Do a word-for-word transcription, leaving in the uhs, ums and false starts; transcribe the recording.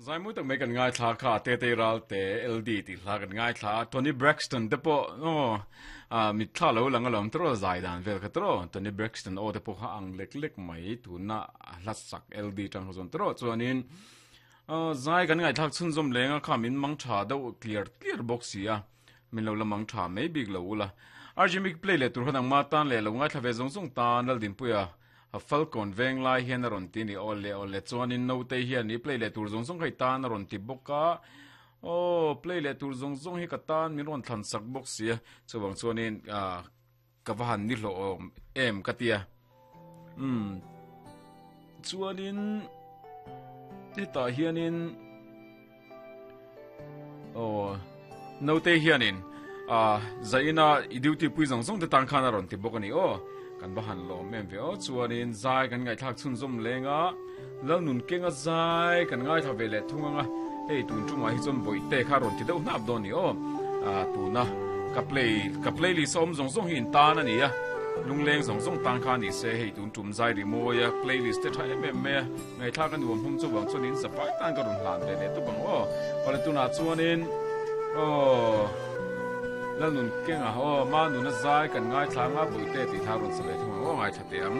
Zai mui tak mai kan ngai thla kha te te ral te L D ti hla kan ngai thla Toni Braxton te pawh aw a mit thla lo lang alawm tro zai dan vel kha tro Toni Braxton aw te pawh kha ang lek lek mai tuna hla sak L D tang ho tro chuanin zai kan ngai thlak chhun zawm lenga kha min mang tha deuh clear clear bawk sia min lo la mang tha mai bik lo ula R G Mic play le tur khanang ma tan le lo ngai thla ve zong zong tan lal din puia a Falcon veng lai hian a rawn ti ni aw le aw le chuanin no te hian ni play le tur zong zong khai tan a rawn ti bawk a o play le tur zong zong hi ka tan min rawn thlan sak bawk sia chuwang chuanin a ka va han ni hlo em ka tia um chuanin hetah hianin o no te hianin a zaina i duty pui zong zong te tan khan a rawn ti bawk ani o kan va han lawm em ve o chuanin zai kan ngai thlak chhun zawm lenga lal nun kenga zai kan ngai tha ve le thunga hei tun chungah hi chuan bawih te kha rawn ti deuh hnap dawn ni o a tuna ka play ka playlist awm zawng zawng hi in tan ani a lungleng zawng zawng tan kha ni se hei tun tum zai ri mawi a playlist te tha em em mai a ngai thlak a nuam hum chu wang chuan in zapai tan ka rawn hlan ve le tu bang o awle tunah chuanin o lal nun kenga o ma nuna zai kan ngai thlanga bawih te ti tha rawn sa ve thung o ngai tha te ang.